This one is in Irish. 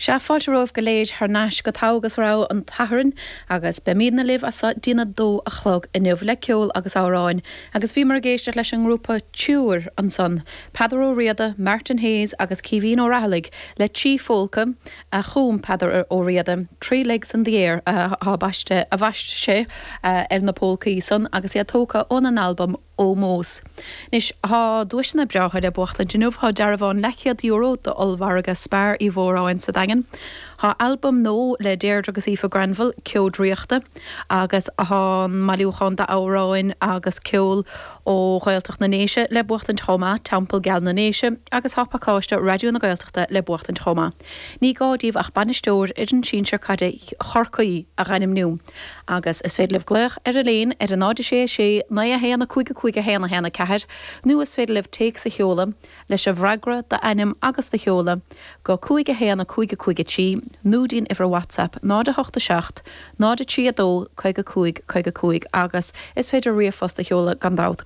Sea, fáilte romhaibh go léir thar n-ais go Togha agus Rogha an tSathairn agus beimídne libh as so dtí'n 2 a chlog inniu le ceol agus amhráin agus bhíomar ag éisteacht leis an ngrúpa Triúr ansan, Peadar Ó Riada, Martin Hayes agus Caoimhín Ó Raghallaigh le 3 phólca a chum Peadar Ó Riada, Three Legs in the Air atá baiste, a bhaist sé ar na pólcaí san agus iad tógtha óna n-albam Ómós. Anois, tá duaiseanna breátha le buachtaint inniu. Tá dearbhán leathchéad euro d'ollmhargadh Spar Uí Mhóráin sa Daingean. Tá albam nua le Deirdre agus Aoife Granville, Ceo Draíochta, agus tá an mbailiúchán d'amhráin agus ceol ó Ghaeltacht na nDéise le buachtaint chomh maith, Teampall Geal na nDéise, agus tá pacáiste Raidió na Gaeltachta le buachtaint chomh maith. Ní gá daoibh ach bainisteoir fhoireann sinsir caide Chorcaí a dh'ainmniú. Agus is féidir libh glaoch ar Elaine ar 0 6 6 9 1 5 5 1 1 4 nó is féidir libh téacs a sheoladh leis an bhfreagra, d'ainm agus do sheoladh, go 5 1 5 5 3 nó dtí'n uimhir WhatsApp 0 8 7 0 3 2 55 55 agus is féidir ríomhphost a sheoladh gan dabht.